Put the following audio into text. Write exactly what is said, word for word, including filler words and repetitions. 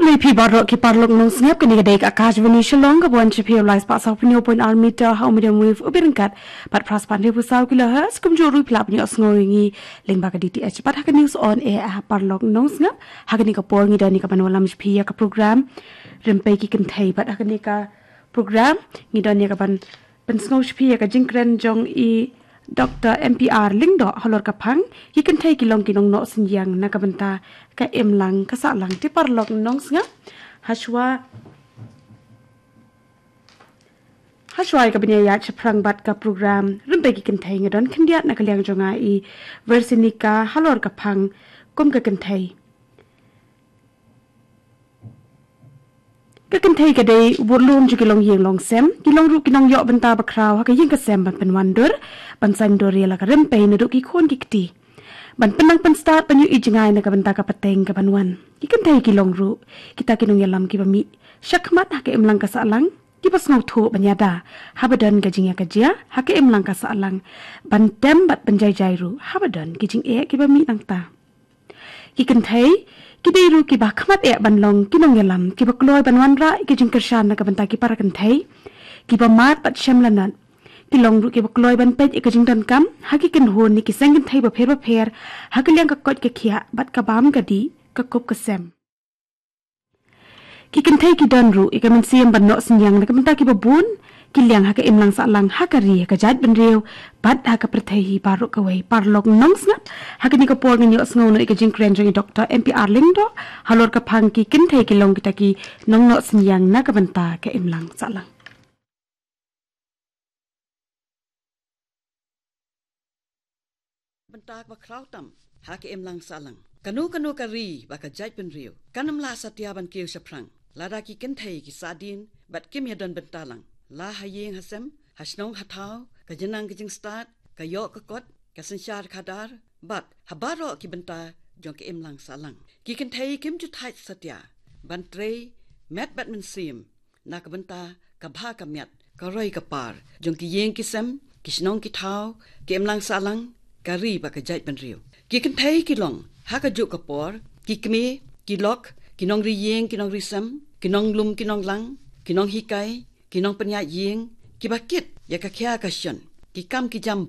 Khublei phi baroh ki paralok nongsngap, kane ka dei ka Akashvani Shillong kaba wan sha phi ha u lai spah saw phew point ar meter ha u medium wave u byrngkat bad phra spah hynriew phew saw kilohertz. Kumjuh ruh phi lah ban ïohsngew ïa ngi lyngba ka D T H bad ha ka news on air. Paralok nongsngap, ha kane ka por ngi don ïa ka ban wallam sha phi ïa ka program Rympei ki Kynthei bad ha kane ka program ngi don ïa ka ban pynsngew sha phi ïa ka jingkren jong i Doctor M P R Lyngdoh halor ka phang ki kynthei ki long ki nongnoh synñiang na ka bynta ka imlang ka sahlang. Te paralok nongsngap, hashwa hashwa ïa ka ban ïaid shaphrang bad ka program Rympei ki Kynthei nga don khyndiat na ka liang jong nga i Versinika halor ka phang kum ka kynthei. Ka kynthei ka dei u burlum jong ki longïing longsem, ki long ruh ki nongïoh bynta bakhraw ha ka ïing ka sem ban pynwandur, ban saiñdur ïa la ka rympei naduh ki khun ki kti, ban pynnang pynstad ban ïohi jngai na ka bynta ka pateng ka ban wan. Ki kynthei ki long ruh kita ki nongïalam kiba mih shakhmat ha ka imlang ka sahlang, kiba sngewthuh ban ïada haba don ka jingïakajia ha ka imlang ka sahlang, ban tem bad ban jai jai ruh haba don ki jingeh kiba mih nangta. Ki kynthei ki dei ruh kiba khmat eh ban long ki nongïalam kiba kloi ban wanrah ïa ki jingkyrshan na ka bynta ki para kynthei kiba mad bad shem lanot. Ki long ruh kiba kloi ban peit ïa ka jingdonkam ha ki kynhun ne ki seng kynthei bapher bapher ha ka liang ka koit ka khiah bad ka bam ka dih, ka kup ka sem. Ki kynthei ki don ruh ïa ka mynsiem ban noh synñiang na ka bynta kiba bun ki liang ha ka imlang sahlang, ha ka ri, ha ka jaitbynriew bad ha ka pyrthei hi baroh kawei. Paralok nongsngap, ha kane ka por ngin ïohsngew noh ïa ka jingkren jong i Doctor M P R Lyngdoh halor ka phang ki kynthei ki long kita ki nongnoh synñiang na ka bynta ka imlang sahlang. Bynta kaba khraw tam ha ka imlang sahlang. Kano kano ka ri bad ka jaitbynriew kan ym lah satia ban kiew shaphrang lada ki kynthei ki sahdien bad kim ïadon bynta lang, la ha ïing ha sem, ha shnong ha thaw, ka jingnang ka jingstad, ka ïoh ka kot, ka synshar khadar bad ha baroh ki bynta jong ka imlang sahlang. Ki kynthei kim ju thait satia ban trei met bad mynsiem na ka bynta ka bha ka miat, ka roi ka par jong ki ïing ki sem, ki shnong ki thaw, ka imlang sahlang, ka ri bad ka jaitbynriew. Ki kynthei ki long ha kajuh ka por ki kmie, ki lok, ki nongri ïing ki nongri sem, ki nonglum ki nonglang, ki nonghikai, ki nongpynïaid ïing, kiba kit ïa ka khia ka shon, ki kam ki jam